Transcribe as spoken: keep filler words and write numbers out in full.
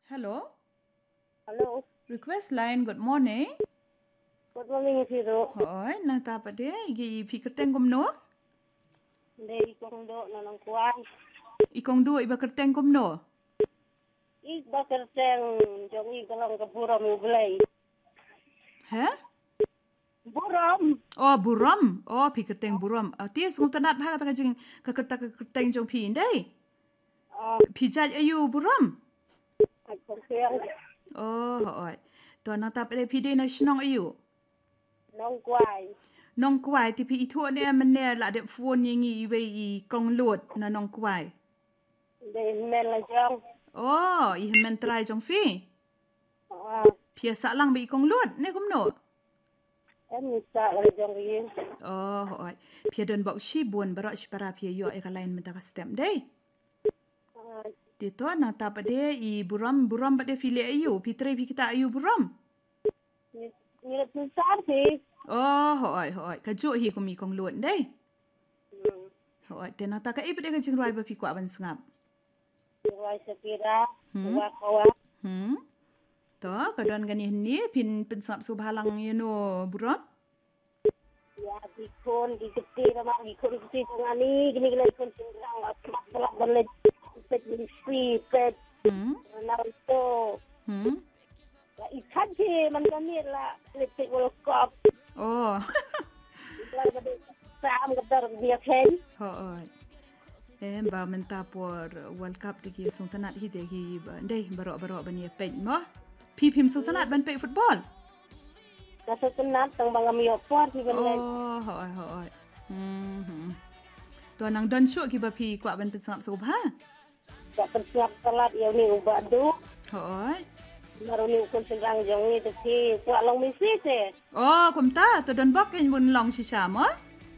Hello. Hello. Request line, good morning. Good morning, Siro. Hoi, nangta pat de, i phi kyrteng kumno? Dei i Kong Doh na Nongkwai. I Kong Doh iba kyrteng kumno? Iba kyrteng jong i ka long ka Burom U Blei. He? Burom. Oh, Burom. Oh, phi kyrteng Burom. Ah, te sngewtynnat bha kata ka jing ka kyrta ka kyrteng jong phi ndei. Ah. Phi jait aïu Burom? Ai kong siang. Oh, hoi. To nangta pat de phi dei na shnong aïu? Nongkwai. Nongkwai, te phi ithuh ne mynne la dep phone ïa ngi iwei i Kong Lut na Nongkwai. Dei hynmen la jong. Oh, i hynmen trai jong phi. Ah. Phi ïa sah lang bad i Kong Lut ne kumno? Em, i sah lang jong ri. Oh, hoi. Phi ïa don bok shibun baroh shipara phi ïa ïoh ïa ka line mynta ka step dei. Ah. Te to nangta pat de i Burom, Burom pat de phi leh aïu, phi trei phi ktah aïu Burom? Ngi, ngi leh pynsan phi. Oh, hoi, hoi. Kajuh hi kum i Kong Lut dei. Hmm. Hoi, te nangta kaei pat de ka jingrwai ba phi kwah ban sngap? Jingrwai Shakira, Hmm. Waka Waka. Hmm. To, ka don kane hangne, phin pynsngap sngewbha lang ïa no Burom? Ïa ki khun ki kti, namar ki khun ki kti jong ngi, kine ki la ki khun shynrang, la sngap, la ban leh peit Messi, peit Hmm. Ronaldo. Hmm. La i khat hi man ka miet la lipstick World Cup. Oh. La ka dei sam ka dar dia khen. Hoi. Em ba mynta por World Cup te ki sngewtynnat hi te ki ba, dei baroh baroh ban ïa peit mo. Phi phim sngewtynnat ban peit football? Ka sngewtynnat tang ba ngam ïoh por phi ban leit. Oh, hoi, hoi. Hmm, hmm. To nang don shuh kiba phi kwah ban pynsngap sngewbha? Ka pynsngap palat ïa une u Bah Duh. Hooid. Namar une u khun shynrang jong ngi te phi kwah long Messi te. Oh, kumta, to don bok kein bun long shisha mo?